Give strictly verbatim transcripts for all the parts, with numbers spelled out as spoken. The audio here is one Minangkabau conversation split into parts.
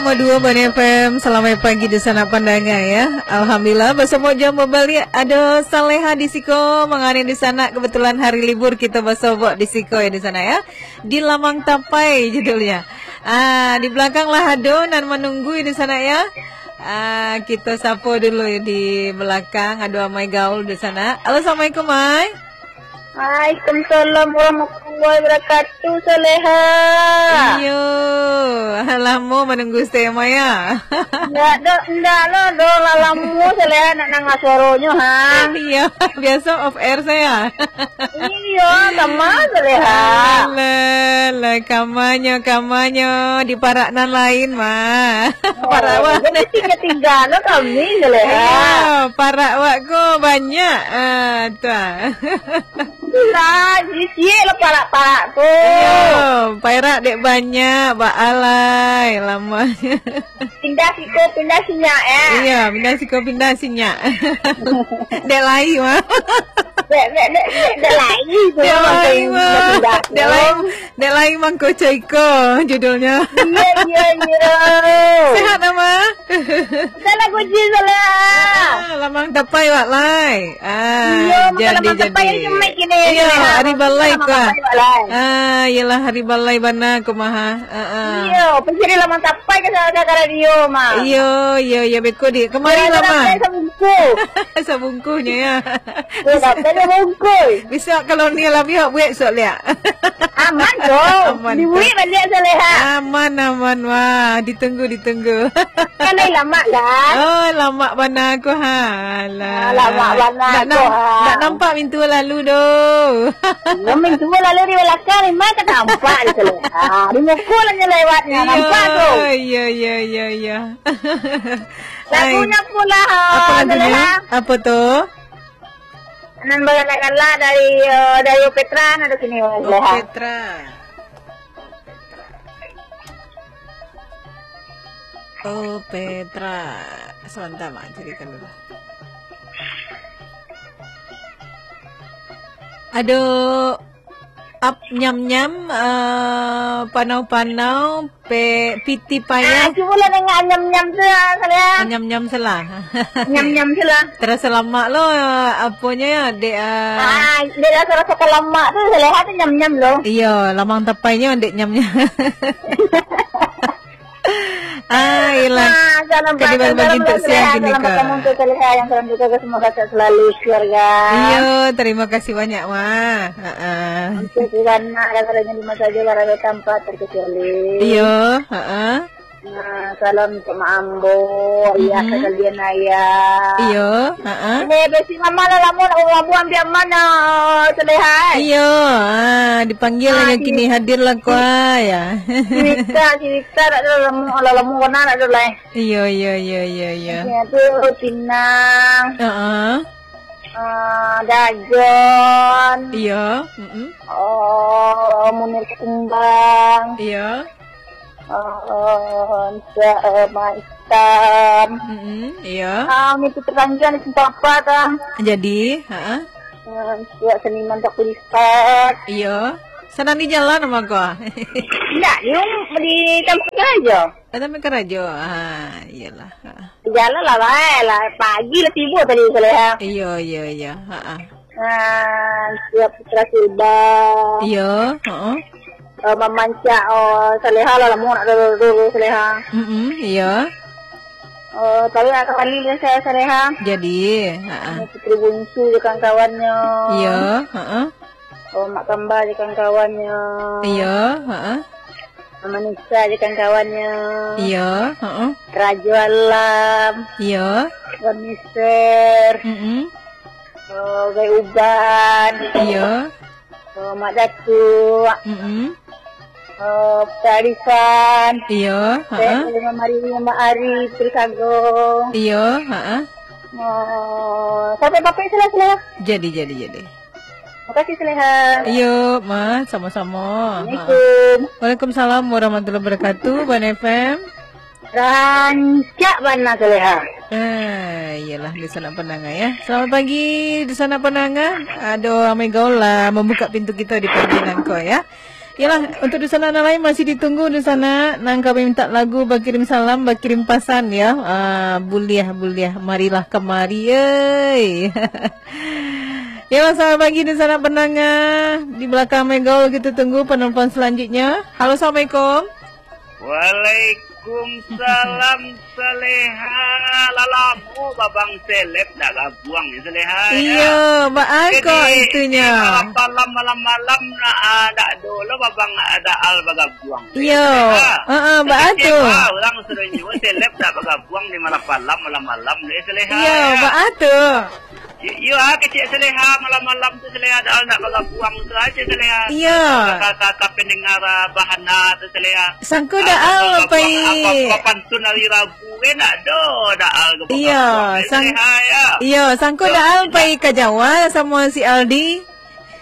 Nomor dua Bani F M, selamat pagi di sana pandanga ya. Alhamdulillah, basobok jam babaliak. Ado Saleha di siko, mangani di sana. Kebetulan hari libur, kita basobok di siko ya di sana ya. Di Lamang Tapai judulnya. Ah, di belakang lah ado nan menunggu di sana ya. Ah, kita sapa dulu di belakang. Ado Amai Gaul di sana. Halo, assalamualaikum, Mai. Waalaikumsalam warahmatullahi wabarakatuh, Saleha. Iyo, lamo manunggu Saleha, Mai, ya? Ndak, do, ndak lo, do, lah lamo Saleha nak nangah suaronyo, ha? Iyo, biaso off air sajo. Iyo, sama Saleha. Alah, lah, kamanyo, kamanyo, di parak nan lain, mah. Oh, parak awak. Jadi tiga-tiga lo kami, Saleha. Iyo, parak awak ko banyak. Ah, tu ah. Lah, ciek lah parak-parak tu. Iyo, parak dek banyak, baalai lamo. Pindah siko, pindah sinyak, ya. Iyo, pindah siko, pindah sinyak. Dek lai, mah. Dek, dek, dek, dek, dek lai tu. Dek lai, mah. Pindah tu. Dek lai, dek lai mangko coiko judulnya. Iyo, iyo, iyo. Sehat, Ama? Salah kunci, salah. Ah, Lamang Tapai, wak lai. Ah, iyo, mangko jadi, Lamang Tapai jadi. Yang cemai kini. Iyo, hari balai ko. Lamang Tapai, wak lai. Ah, iyolah hari balai bana ko mah. Ah, ah. Iyo, pasti di Lamang Tapai ka sa-, ka radio mah. Iyo, iyo, iyo, beko di. Kemari lah, Mah. Sabungkuh. Sabungkuhnyo, ya. Iyo, dapat dia bungkuh. Bisa kalau ni lah, biar buat sok liak. Aman tu. Aman tu. Dibuik baliak Saleha. Aman, aman. Wah, ditunggu, ditunggu. Kan lain lamak, kan? Oh, lamak bana ko, ha. Alah. Ah, lamak bana ko, ha. Ndak nampak mintu lalu doh. Iyo, mintu lalu di balakang, memang ka nampak di Saleha. Ha, di muko lah nyo lewatnyo, nampak tu. Iyo, iyo, iyo, iyo. Lagunyo pula, ha, Saleha. Apo lagunyo? Apo tu? Nan bagalak-galak dari, eh, dari Opetra, nan ado kini, Saleha. Opetra. Oh, Petra. Sabanta, Mak, carikan dulu. Ado ap nyam-nyam, eh, panau-panau, pe-, piti payah. Ah, cubolah danga nyam-nyam tu, ah, Saleha. Nyam-nyam salah. Nyam-nyam salah. Terasa lamak lo, eh, aponyo ya, dek, ah. Ah, dek rasa-rasa ka lamak tu, Saleha tu nyam-nyam lo. Iyo, Lamang Tapainyo dek nyam-nyam. Ah, iyolah. Ah, salam ka dibagi-bagi untuak siang kini, salam ka. Salam ka Saleha, yang salam juga ka semua kakak selalu keluarga. Iyo, terima kasih banyak, Mak. Ha-ha. Untuk Wan Mak, raga-raga di masa aja, raga tanpa terkecuali. Iyo, ha-ha. Nah, salam untuk Mak Ambo, ayah, mm-mm, kakak Dian, ayah. Iyo, ha-ha. Ini besi mama lah, lama nak ngomong ambil mana, Saleha. Iyo, ah, dipanggil lah, ah, yang kini hadir lah, kuah, ya. Cerita, cerita, tak ada lama, lah lama kena, tak ada lah. Iyo, iyo, iyo, iyo, iyo. Ya, tu pinang. Heeh. Ah, Dagon. Iyo, mm-mm. Oh, Munir Kumbang. Iyo. Oh, Encik, eh, Mak Itam. Mm-mm, iyo. Ah, itu terpanjang di tempat apa, tah? Jadi, heeh. Ah, Encik seniman tak kulipat. Iyo. Sanang di jalan sama kau? Indak, di rum-, di tampek karajo. Ah, tampek karajo. Ah, iyolah. Ah. Jalan lah, bae lah. Pagi lah tibo tadi, Saleha. Iyo, iyo, iyo. Ha-ha. Ah, siap Putra Silba. Iyo, heeh. Eh, mamancak, oh, Saleha lah, lamo nak dulu, dulu, Saleha. Mm-mm, iyo. Eh, tapi nak kembali lah saya, Saleha. Jadi, ha-ha. Putri Bungsu je kawan-kawannyo. Iyo, heeh. Oh, Mak Kamba je kawan-kawannyo. Iyo, heeh. Mama Nisa je kawan-kawannyo. Iyo, heeh. Rajo Alam. Iyo. Wan Mister. Mm-mm. Oh, Gai Uban. Iyo. Oh, Mak Datuk. Mm-mm. Oh, Pak Arifan. Iyo, heeh. Mak Ari, Mak Ari, Putri Sago. Iyo, heeh. Oh, sampai bapak sila-sila. Jadi, jadi, jadi. Makasih, Saleha. Iyo, Ma, sama-sama. Assalamualaikum. Ha. Waalaikumsalam warahmatullahi wabarakatuh, Bani F M. Rancak bana, Saleha. Eh, iyolah, di sana pandanga, ya. Selamat pagi, di sana pandanga. Aduh, Amai Gaul lah membuka pintu kita di pagi nangko, ya. Yalah, untuk di sana nan lain masih ditunggu di sana. Nan kami minta lagu, bakirim salam, bakirim pasan ya. Ah, buliah, buliah. Marilah kamari, euy. Yalah, selamat pagi di sana pendengar. Di belakang Megaul kita tunggu penelpon selanjutnya. Halo, assalamualaikum. Waalaikumsalam, Saleha. Lah lamo Babang Seleb ndak gabuang, yo, Saleha, yo. Iyo, baa kok itunyo? Malam-malam, malam-malam, nak, ah, ndak ado lo Babang Daal bagabuang, yo, Iyo. Saleha. Heeh, baa tu? Kecewa urang sadonyo, Seleb ndak bagabuang di malam-malam, malam-malam, yo, Saleha, yo, yo. Baa tu? Iyo, iyo, ah, kecek Saleha, malam-malam tu Saleha, Daal ndak bagabuang tu aja Saleha. Iyo. Ka, ka, ka, ka pendengar, ah, Bahana tu Saleha. Sangko Daal pai. Apa, apa, apa pantun hari Rabu kan ndak ado, Daal ke Iyo, bagabuang, sang-, Saleha, yo. Iyo, sangko Daal pai ka Jawa samo si Aldi.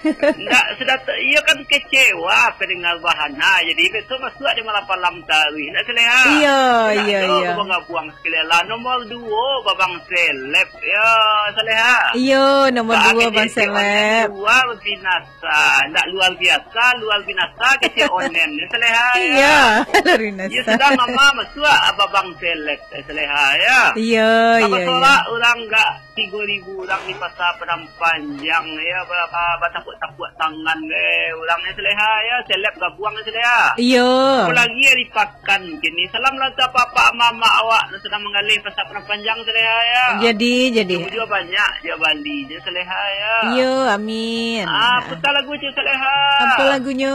Ndak, sudah tu, iyo kan kecewa pendengar Bahana. Jadi, besok masuak di malam-malam taruih. Ndak Saleha. Iyo, iyo, iyo. Bagabuang sekali lah. Nomor duo, Babang Seleb. Yo, Saleha. Iyo, nomor duo, Bang Seleb. Luar binasa. Ndak luar biasa, luar binasa kecek onen. Yo, Saleha, yo. Iyo, luar binasa. Yo, sudah mama masuak Babang Seleb, Saleha, yo. Iyo, iyo, iyo. Urang gak tigo ribu urang di Pasar Padang Panjang, yo, ba-, ba-, batapuak-tapuak tangan, eh, urang ni Saleha, yo, Seleb gabuang ni Saleha. Iyo. Apo lagi ari pakan kini. Salam lah untuak apak-apak, amak-amak awak nan sadang manggaleh Pasar Padang Panjang Saleha, yo. Jadi, jadi. Tunggu juo banyak, juo bali je Saleha, yo. Iyo, amin. Ah, putar lagu je Saleha. Apo lagunyo?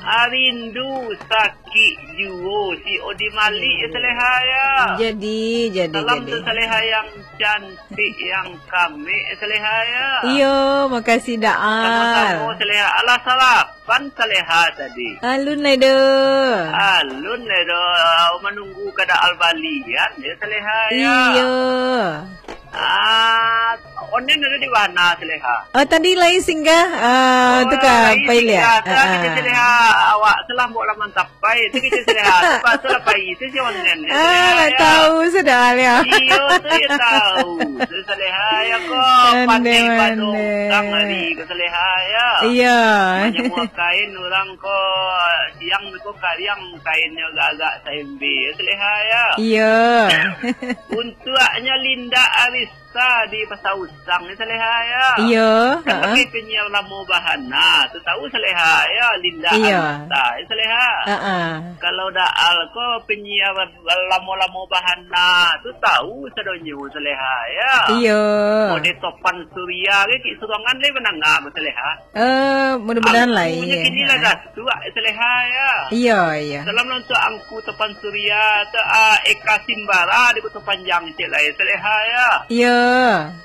Ah, Rindu Sakik Juo, si Odi Malik, yo, Saleha, yo. Jadi, jadi, jadi. Salam tu Saleha yang cantik, yang kamik, Saleha, yo. Iyo, makasih, Daal. Samo-samo, Saleha. Alah, salapan Saleha tadi. Alun lai doh. Alun lai doh. Manunggu ka Daal balian, yo, Saleha, yo. Iyo. Ah, onen ado di Bahana, Saleha. Oh, tadi lai singgah, ah, tu ka pai liak. Singgah, tu kito Saleha. Awak tu lah mantap. Pai, tu kito Saleha. Lepas tu lah pai, tu si onnen, yo, Saleha, lah yo. Tahu sudah, yo. Iyo, tu yo tahu. Tu Saleha, yo, ko. Pandai, pandai pado urang hari ko Saleha, yo. Iyo. Manyamuah kain urang ko, siang ko kariang kainnyo agak-agak saembe, yo, Saleha, yo. Iyo. Untuaknyo Linda Aris Sa di Pasar Usang ni Saleha, yo. Iyo, kan ha. Pakai penyiar lamo Bahana, tu tahu Saleha, yo, Linda Iyo. Arista, yo, Saleha. Ha, ha. Kalau Daal ko penyiar lamo-lamo Bahana, tu tahu sadonyo Saleha, yo. Iyo. Mode Topan Surya ke, kik surongan le mandanga ko Saleha. Eh, mudah-mudahan lah, Angkunyo iya. Kini lah datuak, Saleha, yo. Iya, iya. Salam lah untuak Angku Topan Surya, tu, ah, Eka Simbara di Kota Panjang, cek lah, yo, Saleha, yo. Iya.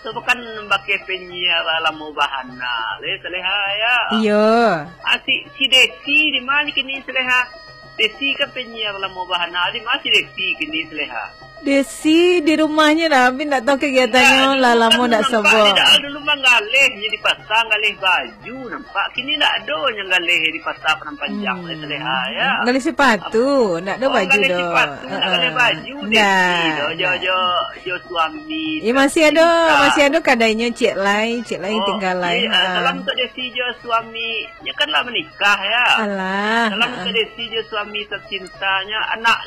Tu bukan pakai penyiar lamo Bahana, le, Saleha, yo. Iya. Ah, si, si Desi di ma kini, Saleha? Desi kan penyiar lamo Bahana, di ma si Desi kini, Saleha? Desi di rumahnyo dah, tapi ndak tahu kegiatannyo, lah lamo ndak sobok. Dulu manggaleh di pasar, galeh baju, nampak. Kini ndak ado nyo galeh di pasar Padang Panjang, Saleha, yo. Galeh sepatu, ndak ado baju doh. Oh, galeh sepatu, ndak galeh baju, Desi doh, jo, jo, jo suami. Eh, masih ado, masih ado kadainyo, cek lai, cek lai tingga lai. Oh, iya, salam untuak Desi jo suami. Nyo kan lah manikah, yo. Alah, salam untuak Desi jo suami tercintanyo, anak